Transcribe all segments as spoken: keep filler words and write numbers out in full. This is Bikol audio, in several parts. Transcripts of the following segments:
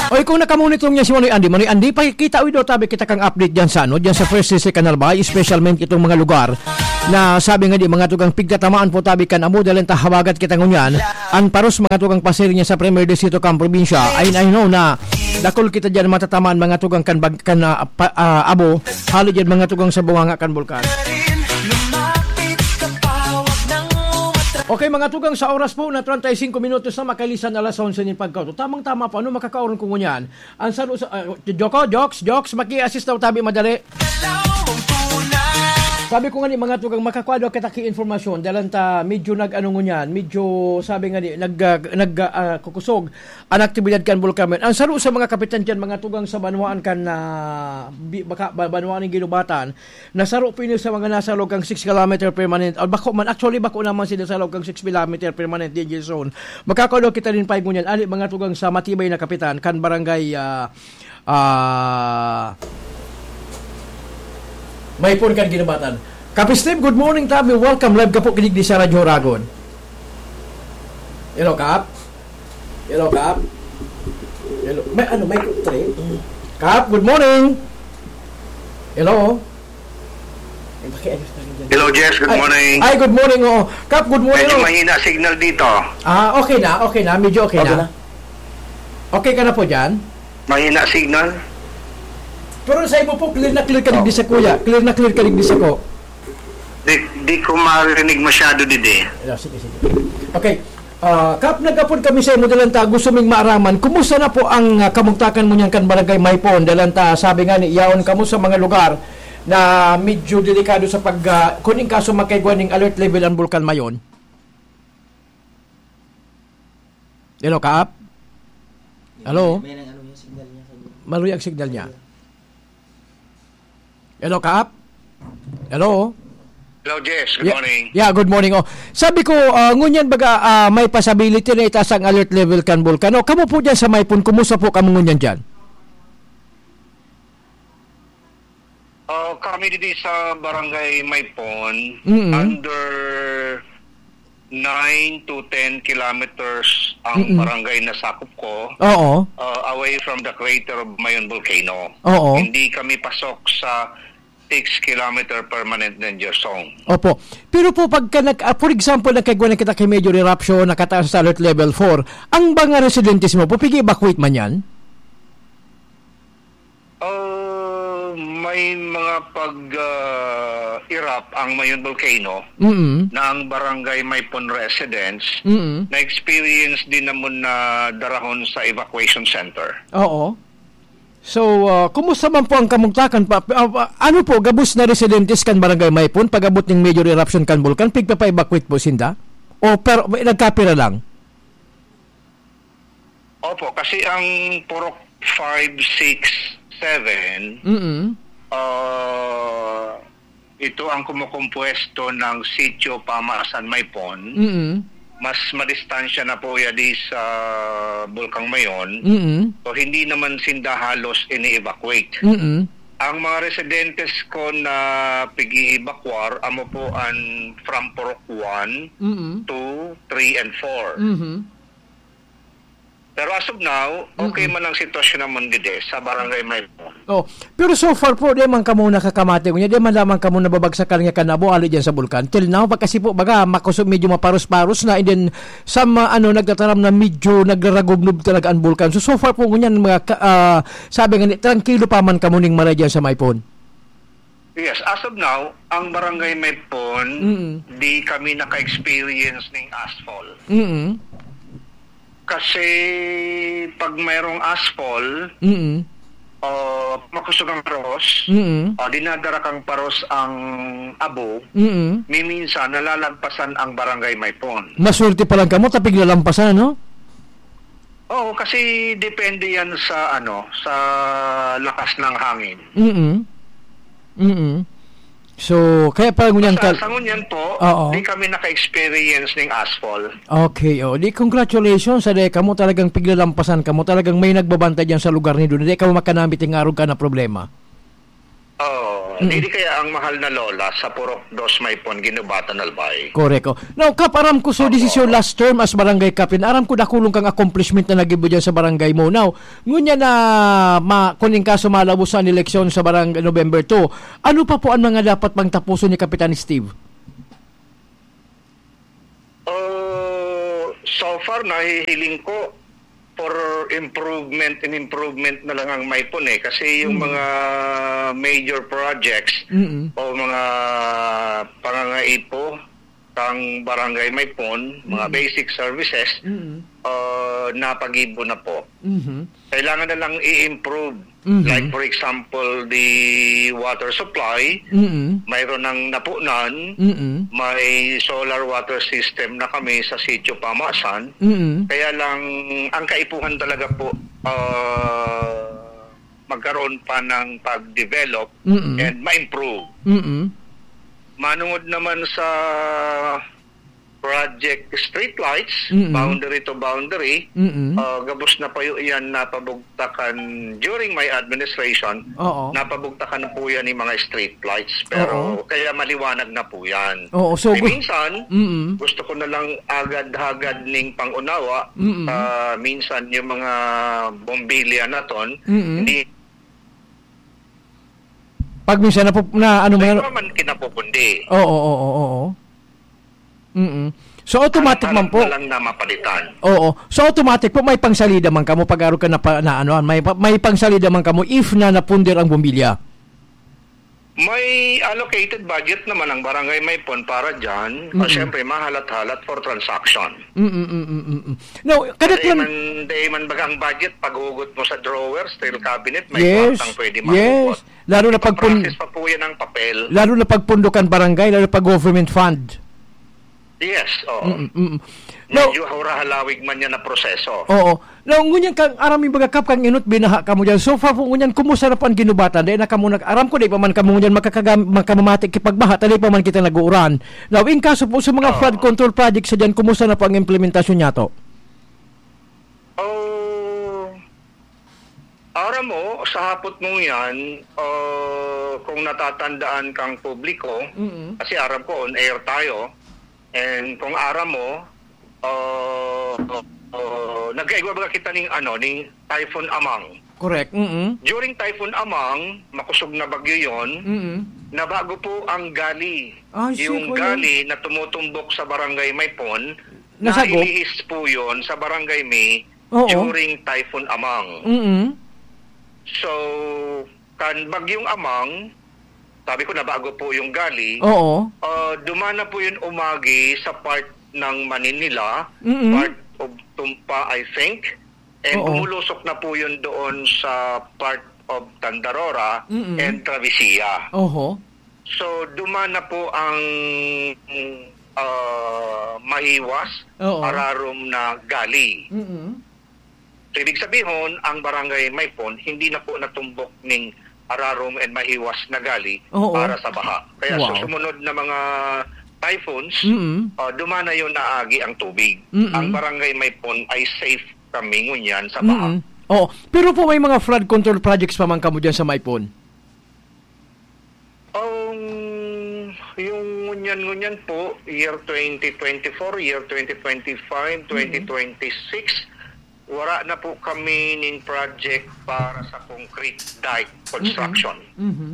Oy, kung nakamonitor niya si Manoy Andy, Manoy Andy, pakikita, uy, daw tabi kita kang update dyan sa, ano, dyan sa First C C Canal Bay, especially itong mga lugar na sabi nga di, mga tugang, pigtatamaan po tabi kan abo, dahil ta habagat kita ngunyan, ang paros, mga tugang, pasir niya sa Premier Distrito kan probinsya, ay, I know na dakul kita dyan matatamaan, mga tugang, kan bag-, kan, ah, pa-, ah, abo, halo dyan, mga tugang, sa bunganga kan bulkan. Okay, mga tugang, sa oras po na treinta y cinco minutos na makalisan alas onse nin pagkauto. Tamang-tama po, ano makakaoron ko ngunyan? Ang saro sa, ah, Joko, Joks, Joks, maki-assist daw tabi madali. Sabi ko nga ni mga tugang, makakwa daw kita ki informasyon, dahil ta medyo nag-ano ngunyan, medyo sabi nga ni, nag, ah, nag, ah, kukusog ang aktibidad kan bulkan. Ang saro sa mga kapitan dyan, mga tugang sa banwaan kan, ah, bi-, baka, ba-, banwaan ng Ginubatan, nasaro po ini sa mga nasa loob kang six kilometer permanent. O, bako man, actually, bako naman sila sa loob kang six kilometer permanent danger zone. Makakaulo kita rin pa ngunyan, ali mga tugang sa matibay na kapitan, kan barangay, ah, ah, Maypon kan Ginubatan. Kapi Steve, good morning, tabi. Welcome, live ka po, kinig di sa Radyo Ragon. Hello, Kap. Hello, Kap. Hello. May ano, may kutre? Kap, good morning. Hello. Ay, pakiayos na rin dyan. Hello, Jess. Good Ay, morning. Ay, good morning, oo. Kap, good morning, Medyo oo. mahina signal dito. Ah, okay na, okay na. Medyo okay Okay na. na. Okay ka na po dyan? Mahina signal. Pero sa imo po, clear na clear ka digdi Oh. sa kuya. Clear na clear ka digdi sa ko. Di, di ko marinig masyado, didi. Yeah, sige, sige. Okay. Ah, Kap, nagapod kami sa imo, dalan ta, gusto ming maaraman, kumusta na po ang, ah, kamugtakan mo niyan kan Barangay Maypon? Dalan ta, sabi nga ni, yaon kamo sa mga lugar na medyo delikado sa pag, ah, kuning kaso magkaigwa ning alert level ang Bulkan Mayon. Hello, Kap? Hello? May, may nang ano yung signal niya sa Maluya ang signal niya. Hello, Kap? Hello? Hello, Jess. Good Yeah, morning. yeah, good morning. Oh, sabi ko, ah, ngunyan baga, ah, may possibility na itaas ang alert level kan Bulkan. Oh, kamo po dyan sa Maypon, kumusta po kamo ngunyan dyan? Ah, kami didi sa Barangay Maypon, Mm. under nine to ten kilometers ang Mm. barangay na sakop ko, Oo. ah, away from the crater of Mayon Volcano. Oo. Hindi kami pasok sa six kilometer permanent danger zone. Opo. Pero po, pagka nag-, ah, for example, nagkaigwa na kita kay major eruption, nakataas sa alert level four, ang mga residentes mo po, pig-evacuate man yan? Ah, may mga pag, ah, erupt ang Mayon Volcano Mm. na ang barangay Maypon residents Mm. na-experience din naman na darahon sa evacuation center. Oo. So, ah, kumusta man po ang kamugtakan pa? Ah, ah, ano po, gabos na residentes kan Barangay Maypon, pag-abot ning major eruption kan bulkan, pigpapa-evacuate po sinda? O pero, nagkapira lang? Opo, kasi ang Purok five, six, seven, Mm. ah, ito ang kumukompuwesto ng Sitio Pamasan Maypon. Mm. Mas madistansya na po ya di sa Bulkang Mayon. Mm. So, hindi naman sinda halos ini-evacuate. Mm. Ang mga residentes ko na pig-i-evacuar, amo po an from Purok one, Mm. two, three, and four. Mhm. Pero as of now, okay Mm-mm. man ang sitwasyon namon gede sa Barangay Maypon. Oh, pero so far po, di man kamo nakakamati, kunya, di man lamang kamo nababagsakan nga kanabo, ali dyan sa bulkan. Till now, pag kasi po, baga, makusog, medyo maparos-paros na, and then, sa ma-, ano, nagtataram na medyo nagraragubnob talaga ang bulkan. So, so far po, ngunyan, mga ka-, ah, sabi nga ni, trangkilo pa man kamo ning maray dyan sa Maypon. Yes, as of now, ang Barangay Maypon, Mm. di kami naka-experience ning ashfall. Mm. Kasi pag mayroong ashfall, Mm. o makusog ang paros, Mm. o dinadara kang paros ang abo, Mm. miminsan nalalagpasan ang Barangay Maypon. Maswerte pa lang kamo, ta piglalampasan, no? Oo, kasi depende yan sa, ano, sa lakas ng hangin. Mm. Mm. So, kaya pa ngunyan Sa, kal- sa ngunyan po, Oo. di kami naka-experience ning ashfall. Okay, oh. Di, congratulations sa di kamo, talagang piglalampasan kamo. Talagang may nagbabantay diyan sa lugar ni Duna. Di kamo makanamit yung arog ka na problema. Oh, Mm. dili kaya ang mahal na lola sa Purok Dos Maypon, Ginubatan, Albay? Korek, oh. Now, Kap, aram ko, so this is your Opo. last term as barangay captain. Aram ko, dakulong kang accomplishment na nagibo dyan sa barangay mo. Now, ngunyan na ma-, kung in kaso malabos sa eleksyon sa barang-, November two, ano pa po ang mga dapat pang tapuson ni Kapitan Steve? Oh, so far, nahihiling ko, for improvement and improvement na lang ang Maypon eh. Kasi yung Mm. mga major projects Mm. o mga pangangaipo kang Barangay Maypon, mga Mm. basic services, Mm. uh, napagibo na po. Mhm. Kailangan na lang i-improve. Mhm. Like, for example, the water supply, Mm. mayroon ng napunan, Mm. may solar water system na kami sa Sitio Pamasan. Mm. Kaya lang, ang kaipuhan talaga po, ah, magkaroon pa ng pag-develop Mm. and ma-improve. Mm. Manungod naman sa Project Streetlights, Mm. boundary to boundary, Mm. ah, gabos na payo iyan napabugtakan during my administration, Oo. napabugtakan na po yan yung mga streetlights. Pero Oo. kaya maliwanag na po yan. Oo, so Eh, gu- minsan, Mm. gusto ko na lang agad-hagad ning pangunawa, Mm. ah, minsan yung mga bombilya na ton, Mm. hindi Pag minsan na po, na ano Sa man iba man kinapupundi. Oo, oo, oo, oo. Mm. So, automatic Ang man po. harap na lang na mapalitan. Oo. So, automatic po, may pangsalida man kamo pag araw ka na, pa, na ano, may, pa- may pangsalida man kamo if na napunder ang bombilya. May allocated budget naman ang Barangay Maypon para dyan. Ah, Mm. syempre, mahalat-halat for transaction. Mm, mm, mm, mm, mm. Now, kada Dahil man, dahil man baga ang budget, paghugot mo sa drawer, steel cabinet, may Yes, kwartang pwede yes. mahugot. Lalo na pag pun- Ipaprocess pa po yan ng papel. Lalo na pag pundokan barangay, lalo na pag government fund. Yes, oo. Mm, mm. Now, Medyo hura-halawig man yan na proseso. Oo. Now, ngunyan kang aram mi baga, Kap, kang inot binaha kamo dyan. So far po, ngunyan, kumusta na po ang Ginubatan? Dahil na kamo nag-, aram ko, di pa man kamo ngunyan makakagam-, makamamati kipagbaha, ta di pa man kita nag-uuran. Now, in kaso po sa mga Oo. flood control projects sa dyan, kumusta na po ang implementasyon niya to? Oh, aram mo, sa hapot mong yan, oh, kung natatandaan kang publiko, Mm. kasi aram ko, on air tayo, and kung aram mo, oh, oh, nagkaigwa baga kita ning, ano, ning Typhoon Amang. Correct, mm. During Typhoon Amang, makusog na bagyo yon, Mm. nabago po ang gali. Ah, Yung sige, gali na tumutumbok sa Barangay Maypon, Nasagop? nailihis po yon sa Barangay May Oo. during Typhoon Amang. Mm. So, kan Bagyong Amang, sabi ko, nabago po yung gali. Oo. Ah, dumaan na po yun umagi sa part ng Maninila, Mm. part of Tumpa, I think. And Oo. bumulusok na po yun doon sa part of Tandarora Mm. and Travisia. Oho. So, duman na po ang, ah, mahiwas, Oo. ararom na gali. Mm. So, ibig sabihin, ang Barangay Maypon, hindi na po natumbok ning ararom and mahiwas na gali Oo. para sa baha. Kaya Wow. sa sumunod na mga typhoons, Mm. ah, duman na yun na agi ang tubig. Mm. Ang Barangay Maypon ay safe kami ngunyan sa baha. Mm. Oo. Pero po, may mga flood control projects pa man kamo dyan sa Maypon? Um, yung ngunyan-ngunyan po, year twenty twenty-four, year twenty twenty-five, Mm. twenty twenty-six, wala na po kami ning project para sa concrete dike construction. Mm-mm. Mhm.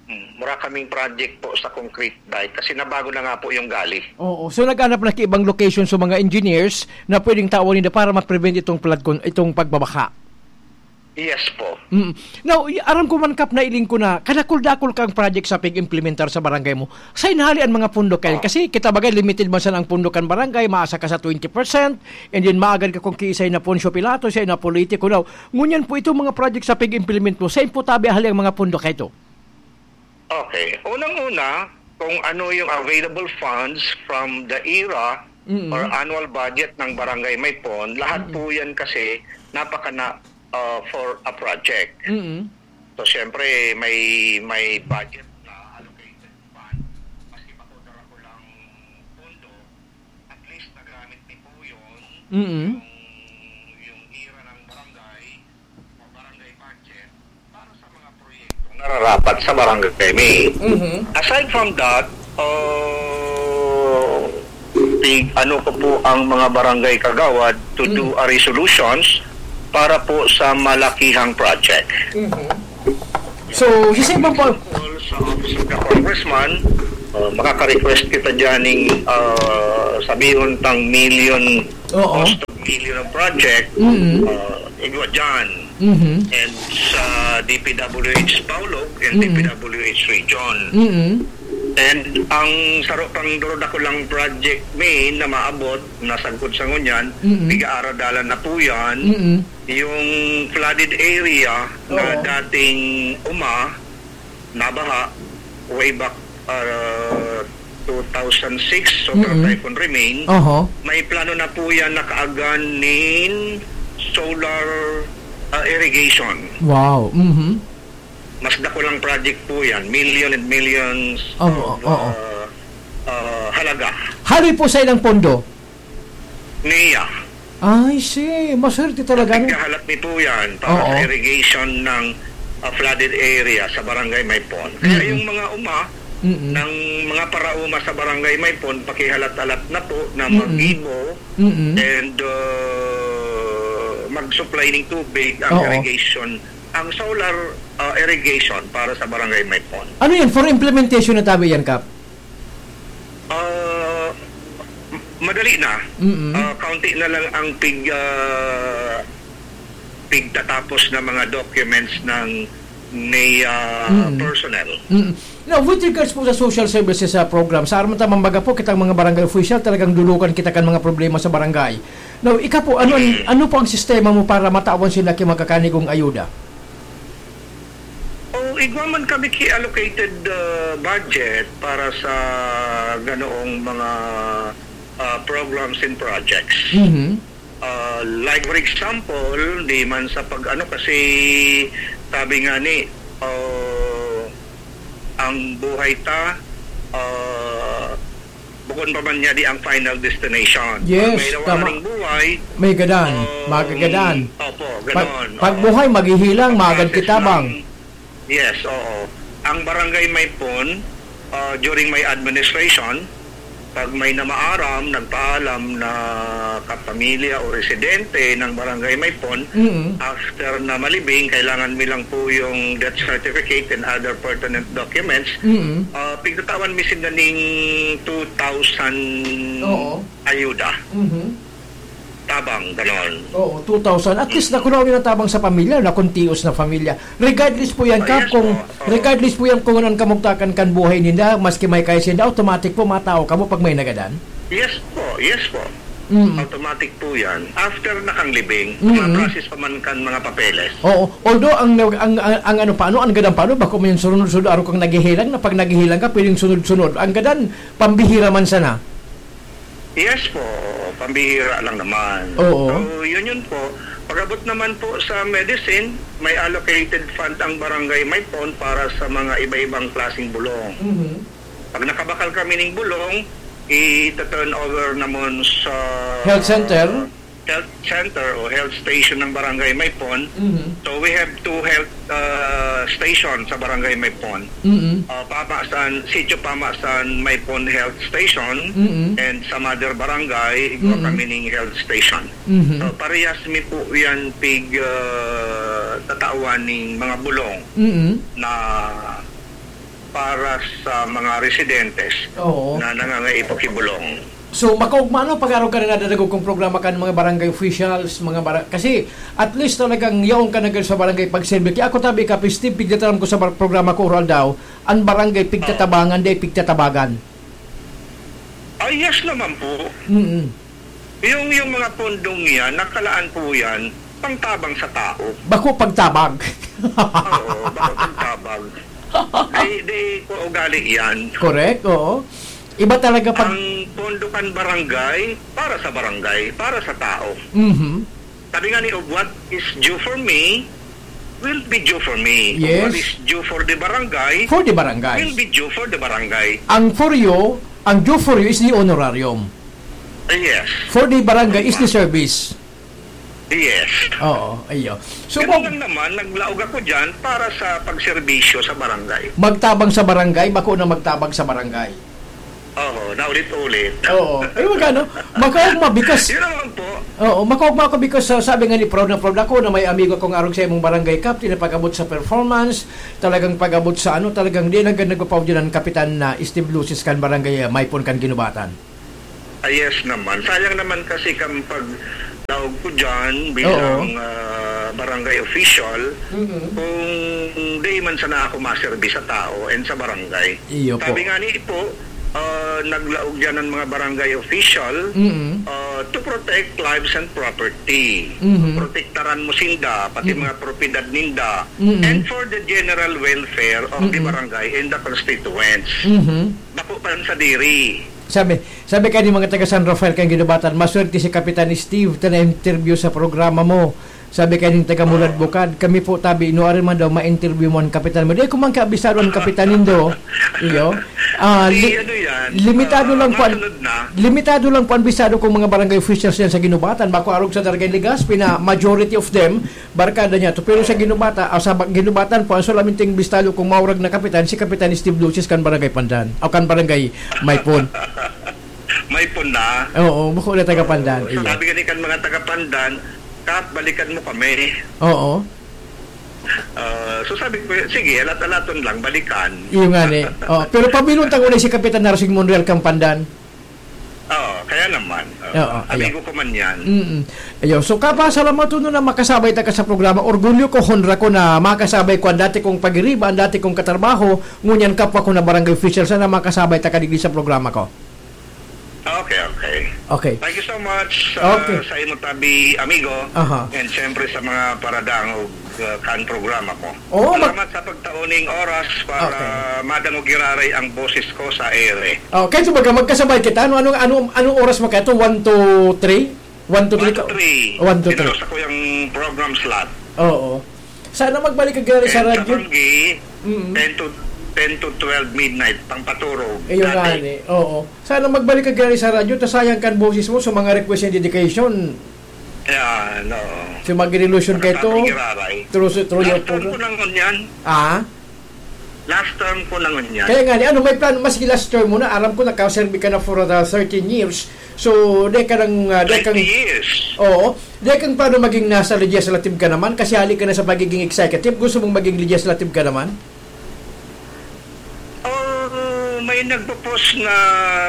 Mm, wala kaming project po sa concrete dike kasi nabago na nga po yung gali. Oo. So, naghanap na ki ibang location sa mga engineers na pwedeng tawan ninda para ma-prevent itong flood con-, itong pagbabaha. Yes po. Mm. Now, y-, aram ko man, Kap, nailing ko na kadakul-dakul kang project sa pig-implementar sa barangay mo. Sain hali an mga pondo kayan? Ah. Kasi kita bagay, limited man sana ang pondo kan barangay, maasa ka sa twenty percent, and then maagad ka kung kiisay na Poncio Pilato, siya na politiko. Now, ngunyan po itong mga project sa pig-implement mo, sain po tabi hali ang mga pondo kaito? Okay. Unang-una, kung ano yung available funds from the era Mm. or annual budget ng Barangay Maypon, lahat Mm. po yan kasi napakana, uh, for a project. Mm. So, siyempre, may, may budget na allocated fund. Maski pa po dara ko lang pondo, at least nagamit ni po yun, Mm. yung, yung era ng barangay, o barangay budget, para sa mga proyektong nararapat sa barangay mi. Mhm. Aside from that, uh, tig-, ano ko po ang mga barangay kagawad to do Mm. a resolutions para po sa malakihang project. Mhm. So, si Sir Bampo- Sa Office of the Congressman, uh, makaka-request kita dyan ng, uh, sabihon tang million, Oo. cost of million of project, Mm. uh, igwa dyan. Mhm. And sa D P W H Paulog and Mm. D P W H Region. Mm. And ang saro pang duro dakulang project mi na maabot, nasagkod sa ngunyan, Mm. pigaaradalan na po yan. Mm. Yung flooded area na Oo. dating uma, nabaha, way back, uh, two thousand six, so Mm. Typhoon Remain, Oho. may plano na po yan na kaagan nin solar, uh, irrigation. Wow. Mhm. Mas dakulang project po yan, million and millions Oo, of, oo. uh, uh, halaga. Hali po sa ilang pondo? Niya. I see. Maswerte talaga, no? Pagkahalat ni po yan para Oo. sa irrigation ng, uh, flooded area sa Barangay Maipon. Kaya Mm-mm. yung mga uma, Mm-mm. ng mga parauma sa Barangay Maipon, pakihalat-halat na po na Mm-mm. mag-ibo Mm-mm. and, uh, mag-supply ng tubig ang Oo. irrigation, ang solar, uh, irrigation para sa Barangay Maipon. Ano yan? For implementation na tabi yan, Kap? Ah, madali na. Mm-mm. Ah, kaunti na lang ang pig-, ah, pigtatapos na mga documents ng may, ah, Mm. personnel. Mm. Now, with regards po sa social services, ah, program, sa aram ta mambaga po, kitang mga barangay official, talagang dulukan kita kan mga problema sa barangay. Now, ika po, ano ang, Mm. ano po ang sistema mo para matawan sila ki magkakanigong ayuda? O, igwa man kami ki allocated, ah, budget para sa ganoong mga, ah, programs and projects. Mhm. Ah, like for example, di man sa pag-ano, kasi sabi nga ni, ah, ang buhay ta, ah, bukon pa man niya di ang final destination. Yes, May tama. Nawawaring buhay, May gadan, um, magagadan. Opo, Pag, ganon, pag oo. buhay, maghihilang, Pag-process magagkitabang. ng Yes, oo. Ang Barangay Maipon, ah, during my administration, pag may namaaram, nagpaalam na kapamilya o residente ng Barangay Maipon, Mm. after na malibing, kailangan mi lang po yung death certificate and other pertinent documents. Mm. Ah, pigtatawan mi sila ning two thousand Oo. ayuda. Mhm. Tabang, ganon. Oo, two thousand. At least, Mm. nakuha na tabang sa pamilya, na kuntios na pamilya. Regardless po yan, Ah, Kap, yes kung, po. Oo. regardless po yan kung anong kamugtakan kan buhay ninda, maski may kaya sinda, automatic po, matao kamo pag may nagadan? Yes po, yes po. Mm. Automatic po yan. After na kang libing, Mm. ma-process pa man kan mga papeles. Oo. Although, ang, ang, ang, ang ano pa, ano, ang gadan pa, ano, bako may sunod-sunod, araw kang naghihilang, na pag naghihilang ka, pwedeng sunod-sunod. Ang gadan, pambihira man sana. Yes po, pambihira lang naman. Oo. So, yun yun po. Pag-abot naman po sa medicine, may allocated fund ang Barangay Maipon para sa mga iba-ibang klaseng bulong. Mhm. Pag nakabakal kami ning bulong, i-turn over namon sa Health center? health center o health station ng Barangay Maipon. Mhm. So, we have two health, uh, station sa Barangay Maipon. Mhm. Uh, Pamasan, Sitio Pamasan Maipon Health Station Mhm. and sa Mother Barangay, igwa Mhm. kami ning health station. Mhm. So, parehas mi po yan pig, uh, tatawan ning mga bulong Mhm. na para sa mga residentes Oo. na nangangaipo ki bulong. So, makaugma, no, pag-araw ka na nadadagog kong programa kan mga barangay officials, mga bara-, kasi at least talagang yaon ka na gad sa barangay pagserbi. Kaya ako tabi ka, Steve, pigdataram ko sa bar-, programa ko, Oral Daw, ang barangay pigtatabangan, di pigtatabagan. Ah, yes naman po. Mm-mm. Yung, yung mga pondong yan, nakalaan po yan, pangtabang sa tao. Bako pagtabag. Oo, bako pagtabag. Di, di ko ugali yan. Correct, oo. Iba talaga pag Ang pondo kan barangay, para sa barangay, para sa tao. Mhm. Sabi nga ni Og, "What is due for me will be due for me. Yes. What is due for the barangay For the barangay. will be due for the barangay." Ang for you, ang due for you is the honorarium. Yes. For the barangay is the Tama. service. Yes. Oo, iyo. So, Ganun mo lang naman, naglaog ako dyan para sa pagserbisyo sa barangay. Magtabang sa barangay, bako na magtabang sa barangay. Oo, naulit-ulit. Oo. Ay, wag ano, makaugma, because Yun naman po. Oo, makaugma ako because, uh, sabi nga ni, proud na proud ako na may amigo akong arog sa imong barangay captain na pag-abot sa performance. Talagang pag-abot sa ano, talagang di lang ganda nagpapaudyan ang kapitan na Steve Lucis kan barangay, uh, Maypon kan Ginubatan. Ah, yes naman. Sayang naman kasi kang paglaog ko dyan bilang, Oo. ah, barangay official, Mm-mm. kung di man sana ako maserbi sa tao and sa barangay. Iyo po. Sabi nga ni Ipo, ah, naglaog dyan ng mga barangay official, Mm-mm. ah, to protect lives and property. Mm-hmm. Protektaran mo sinda, pati Mm-mm. mga propiedad ninda. Mm-mm. And for the general welfare of the Mm-mm. barangay and the constituents. Mm-hmm. Bako pa lang sa diri. Sabi, sabi kani mga taga San Rafael kan Ginubatan, "Maswerte si Kapitan Steve ta na-interview sa programa mo." Sabi kani taga Mulad Oo. Bukad, "Kami po tabi, nuarin man daw ma-interview mo ang kapitan mo." Di ko man kaabisado ang kapitan nindo. Iyo. Ah, Di, li-, ano yan, limitado ah, lang po ang, masunod na. limitado lang po ang bisado kong mga barangay officials yan sa Ginubatan. Bako arog sa Daragay Legazpi na majority of them, barkada niya to. Pero sa Ginubata, ah, sa ba-, Ginubatan po, ang solamente ang bisado kong maurag na kapitan, si Kapitan Steve Lucis kan Barangay Pandan, o kan Barangay Maypon. Maypon na. Oo, bako na taga Pandan, Oo, iyo. Sabi gani kan mga taga Pandan, "Kap, balikan mo kami." Oo. Ah, so sabi ko, "Sige, alat-alaton lang, balikan." Iyo nga ni. Oh, pero pabilon ta ngunay si Kapitan Narsing Monreal kan Pandan. Oo, kaya naman. Oo, Oo, ayo. Amigo ko man yan. Mm-mm. Ayo, so, Kap, salamat po na makasabay ta ka sa programa. Orgulyo ko, honra ko na makasabay ko ang dati kong pagiriba, ang dati kong katrabaho, ngunyan kapwa ko na barangay official. Sana makasabay ta ka digdi sa programa ko. Okay, okay. Okay. Thank you so much, uh, Okay. sa imo tabi, amigo. Aha. And siyempre sa mga paradangog, uh, kan programa mo. Oo, mag- Salamat sa pagtao ning oras para Okay. madangog giraray ang boses ko sa ere. Oh, kaya ito baga, magkasabay kita. Ano, ano, ano, anong oras mo kaya ito? One to three? One to three One to ka-, three. one to three. Inaros ako yung program slot. Oo. Sana magbalik ka gari sa And radyo. sa Banggi, Mm. ten to, ten to twelve midnight, pang paturog. Ayun nga, Dati. ni. Oo. Sana magbalik ka gari sa radyo, ta sayang kan boses mo sa mga request and dedication. Yan, oo. So, mag-revolution ka ito Nakatapos giraray. through, through your Last term program. ko na ngunyan. Ah? Last term ko na ngunyan. Kaya nga, ni, ano, may plano, maski last term mo na, aram ko, nakaserbi ka na for the thirteen years. So, di ka nang, ah, di kang Twenty years. Oo. Di kang plano maging nasa legislative ka naman, kasi hali ka na sa pagiging executive, gusto mong maging legislative ka naman? Oh, may nagpo-post na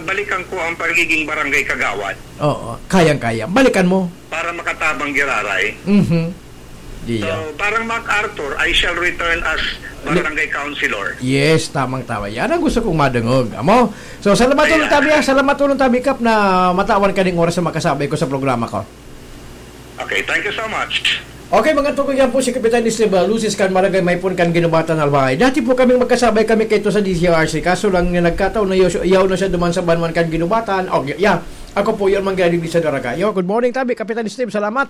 balikan ko ang pagiging barangay kagawad. Oo, kayang-kaya. Balikan mo. Para makatabang giraray. Mhm. Iya. So, parang MacArthur, "I shall return as Li- barangay councilor." Yes, tamang-tama. Yan ang gusto kong madungog. Amo? So, salamat ulit, Ayan. tabi, ah. Salamat ulit, tabi, Kap, na matawan ka ning oras na makasabay ko sa programa ko. Okay, thank you so much. Okay, mga tugang, yan po si Kapitan Esteban Lucis kan Barangay Maypon kan Ginubatan, Albay. Dati po kaming magkasabay kami kaito sa D C R C. Kaso lang na nagkataon na yaw, yaw na siya duman sa Banwan kan Ginubatan. Oh, y-, yeah. Ako po, yun, Manggadi sa Daraga. Yo, good morning, tabi, Kapitan Steve. Salamat.